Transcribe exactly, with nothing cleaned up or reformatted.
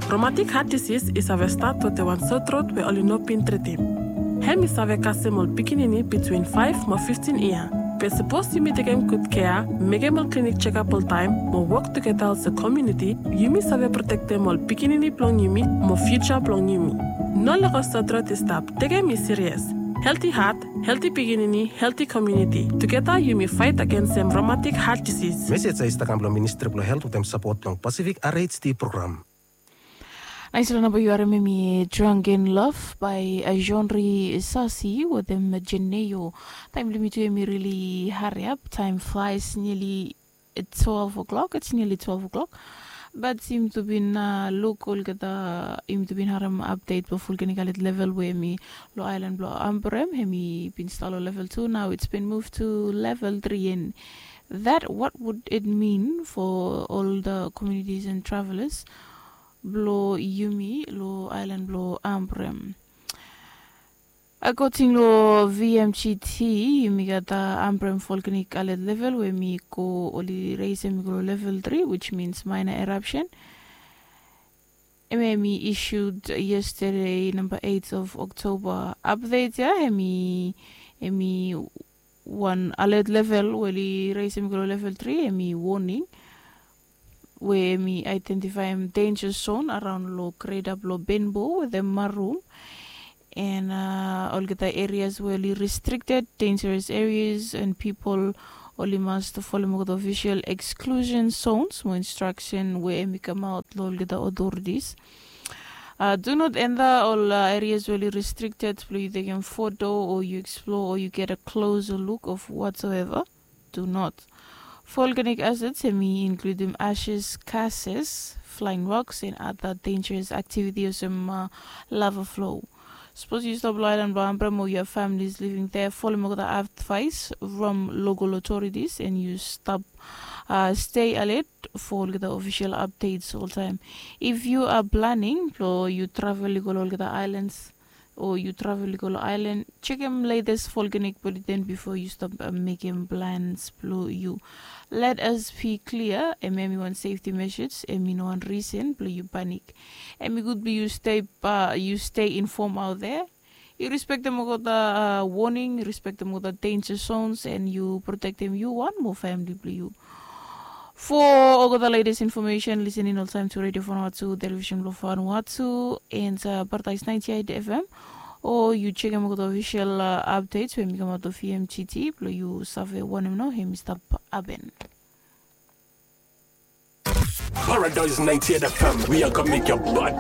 Romatik hat disis i save stat wetem wan sotrot we oli no bin tritim. Hem i save kasem ol pikinini bitwin faef mo fiftin yia. Be sapos yumi tekem gud kea, mekem ol klinik jekap oltaem mo wok tugeta olsem komuniti, yumi save protektem ol pikinini blong yumi mo fiuja blong yumi. No lego sotrot i stap. Tekem i sirias. Helti hat, helti pikinini, helti komuniti. Tugeta yumi faet agensem romatik hat disis. Mesej ya i stap kam blong Ministri blong Helt wetem sapot blong Pasifik R H D program. Naisfala namba yu harem hem i Drunken Love by Jeanri Sasi wetem Jeneo. Taem blong yumi tu hem i rili hariap. Time flies, nearly twelve o'clock. It's nearly twelve o'clock. Bat yumi tu bin luk olgeta, yumi tu bin harem update blong Volcanic Alert Level we hem i long aelan blong Ambrym, hem i bin stap long level two, now it's been moved to level three. And that, what would it mean for all the communities and travelers blong yumi long aelan blong Ambrym? According long V M G T, yumi gat Ambrym Volcanic Alert Level we hem i go, oli raisem i go long level three, which means minor eruption. Hem i issued yesterday, number eight of October. Update ya, hem i, hem i wan alert level we oli raisem i go long level three, hem i warning we hem i identifaem danger zone araon long Greater blong Benbow wetem Marum. And olgeta areas we oli restricted, dangerous areas, and people oli mas folem olgeta official exclusion zones mo instruction we hem i kamaot long olgeta authorities. Do not enter ol areas we oli restricted blong yu tekem foto o yu explore o yu get a closer look of whatsoever. Do not. Volcanic hazards hem i inkludim ashes, gases, flying rocks, and other dangerous activity olsem lava flow. Sapos yu stap long aelan blong Ambrym o yu have families living there, folem olgeta advice from local authorities and yu stap stay alert for olgeta official updates oltaem. If you are planning blong yu travel i go long olgeta aelans o yu travel i go long aelan, jekem latest volcanic bulletin bifo yu stap mekem plans blong yu. Let us be clear, hem i wan safety measures, hem i no wan reason blong yu panic. Hem i gud blong yu stay, yu stay informed out there. Yu respektem olgeta warning, yu respektem olgeta danger zones, and yu protektem yu wan mo famili blong yu. For olgeta latest information, listening oltaem to Radio Vanuatu, television blong Vanuatu, and Paradise ninety-eight F M, o yu jekem olgeta official updates we hem i kamaot long V M G T blong yu save wanem nao hem i stap hapen. Paradise ninety-eight F M, we are gonna make your blood